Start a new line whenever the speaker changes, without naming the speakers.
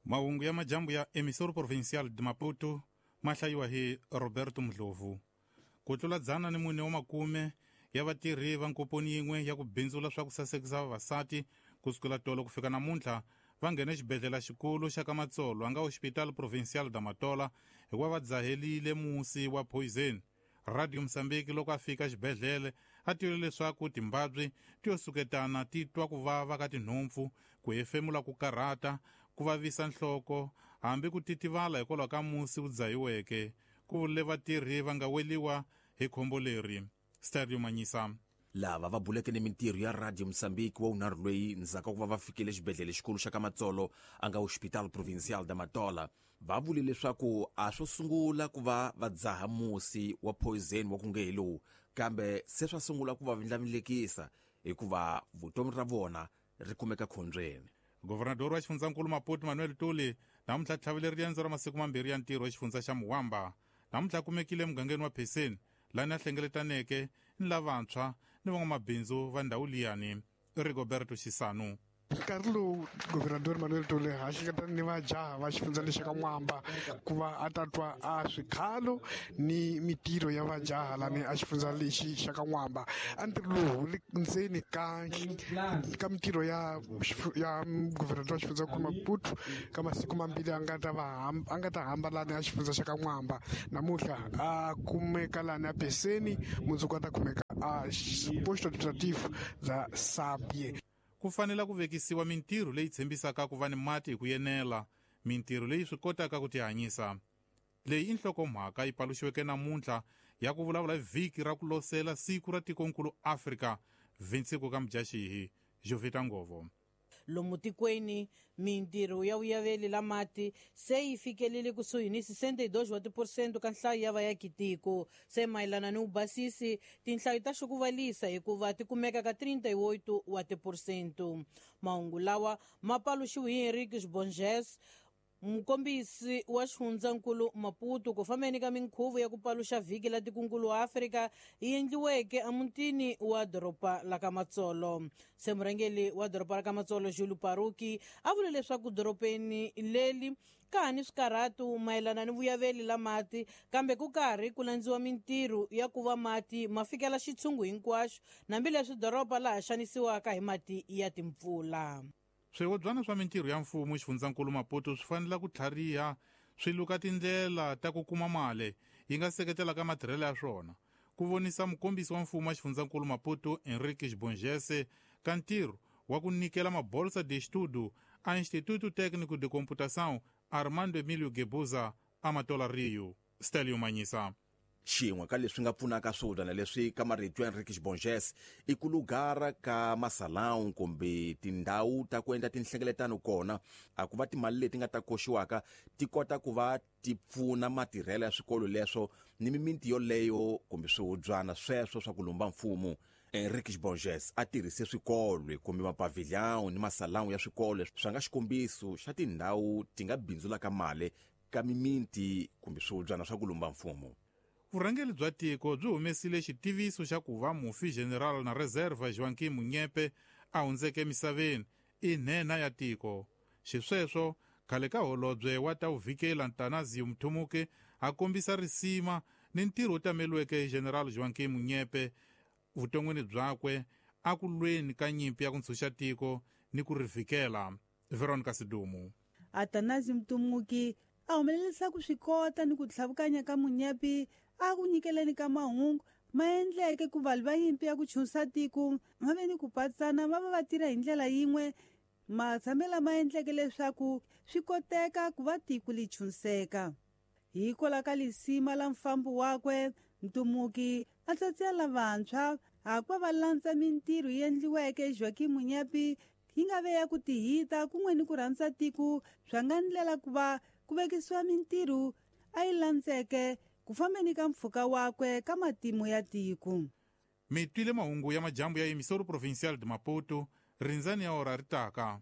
Mahungu ya majambu ya Emissora Provincial de Maputo ma hlayiwa hi Roberto Mdlovu. Ku tlula 410 ya vatirhi va nkoponi yin'we ya ku bindzula swa ku sasekisa vavasati ku sukela tolo ku fika namuntlha va nghene xibedhlele xikulu xa ka Matsolo a nga Hospital Provincial da Matola hikuva va dzahelile musi wa poison. Radio Mozambique loko a fika xibedhlele a twile leswaku timbabyi ti yo suketana ti twa ku vava ka tinhompfu, ku hefemula ku karhata, ku vavisa nhloko, hambi ku titivala hikwalaho ka musi wu dzahiweke. Ku vule vatirhi va nga weliwa hi khombo leri. Stereo Manyisa.
Lava va buleke ni mintirho ya Radio Mozambique wa wunharhu loyi ndzhaku ka ku va va fikile xibedhlele xikulu xa ka Matsolo a nga Hospital Provincial da Matola va vule leswaku a swo sungula ku va va dzaha musi wa poison wa ku nge hi lowu, kambe se swa sungula ku va vindlavindlekisa hikuva vutomi ra vona ri kumeka khombyeni.
Governador wa xifundzankulu Maputo Manuel Tuli namuntlha tlhavile riendzo ra masiku mambirhi ya ntirho exifundza xa Muwamba. Namuntlha kumekile emugangeni wa Pheseni lani a hlengeletaneke ni lavantshwa ni van'wamabindzu va ndhawu liyani. Rigoberto Xisanu.
Nkarhi lowu Governador Manuel Tuli a hleketana ni vajaha va xifundza lexi ka N'wamba ku va a ta twa a swikhalo ni mitirho ya vajaha lani a xifundza lexi xa ka N'wamba. A ntirho lowu wu le ndzeni ka mitirho ya Governador wa xifundza Maputo ka masiku mambirhi a nga ta va a nga ta hamba lani a xifundza xa ka N'wamba. Namuntlha a kumeka lani a Peseni, mundzuku a ta kumeka a posto administrative za Sabie.
Ku fanele ku vekisiwa mintirho leyi tshembisaka ku va ni mati hi ku yenela, mintirho leyi swi kotaka ku tihanyisa. Leyi i nhlokomhaka yi paluxiweke namuntlha ya ku vulavula hi vhiki ra ku losela siku ra tikonkulu Afrika, 25 ka Mudyaxihi. Jovita Ngovo.
Lomu tikweni mintirho ya vuyaveli la mati se yi fikelele kusuhi ni 62 wa tiphesente ka nhlayo ya vayakitiko. Se mayelana ni vubasisi tinhlayo ta xukuvalisa hikuva ti kumeka ka 38 wa tiphesente. Mahungu lawa ma paluxiwe hi Henrique Bonges, mukombisi wa xifundzankulu Maputo, ku fambeni ka minkhuvo ya ku paluxa vhiki la tikunkulu wa Afrika yi endliweke emutini wa doroba la ka Matsolo. Se murhangeri wa doroba la ka Matsolo Julu Paruki a vule leswaku dorobeni leri ka ha ni swikarhatu mayelana ni vuyaveli la mati, kambe ku karhi ku landziwa mintirho ya ku va mati ma fikela xitshungu hinkwaxo, hambileswi doroba laha xanisiwaka hi mati ya timpfula.
Swihobyana swa mintirho ya mfumo xifundzankulu Maputo swi fanele ku tlhariha swi luka tindlela ta ku kuma mali yi nga seketelaka matirhelo ya swona. Ku vonisa mukombisi wa mfumo wa xifundzankulu Maputo Henrique Bongese ka ntirho wa ku nyikela mabolsa de estudo a Instituto Técnico de Computação Armando Emílio Guebuza a Matola Rio. Stelio Manyisa.
Xin'we ka leswi nga pfunaka swihobyana leswi ka marito ya Henrique Bonges i ku lugara ka masalão kumbe tindhawu ta ku endla tinhlengeletano kona, a ku va timali leti nga ta koxiwaka ti kota ku va ti pfuna matirhelo ya swikolo leswo ni mimiti yoleyo kumbe swihobyana sweswo swa ku lumba mfumo. Henrique Bonges a tirhise swikolo kumbe mapavilhão ni masalão ya swikolo swa nga xikombiso xa tindhawu ti nga bindzulaka mali ka mimiti kumbe swihobyana swa ku lumba mfumo.
Vurhangeri bya tiko byi humesile xitiviso xa ku va mufi General na Reserva Joaquim Munyepe a hundzeke emisaveni i nhenha ya tiko. Xisweswo khale ka holobye wa ta vuvikela Ntanazio Mthumuke a kombisa risima ni ntirho wu tameliweke hi General Joaquim Munyepe vuton'wini byakwe a ku lweni ka nyimpi ya ku ntshunxa tiko ni ku ri vikela. Veronica Sidumu.
Atanazio Mthumuke a humelerisa ku swi kota ni ku tlhavukanya ka Munyepe a ku nyikeleni ka mahungu ma endleke ku valwi va nyimpi ya ku chunsa tiko va ve ni ku patsana va va va tirha hi ndlela yin'we, matshamelo ma endleke leswaku swi koteka ku va tiko li chunseka. Hikwalaho ka lisima la mfambo wakwe, Mtumuki a tsatsela lavantshwa hakuva va landza mintirho yi endliweke Joaquim Munyepe yi nga ve ya ku tihita kun'we ni ku rhandza tiko swa nga ndlela ku va ku vekisiwa mintirho a yi landzeke ku fambeni ka mpfhuka wakwe ka matimu ya tiko.
Mi twile mahungu ya majambu ya Emissora Provincial de Maputo, rindzani ya ora ri taka.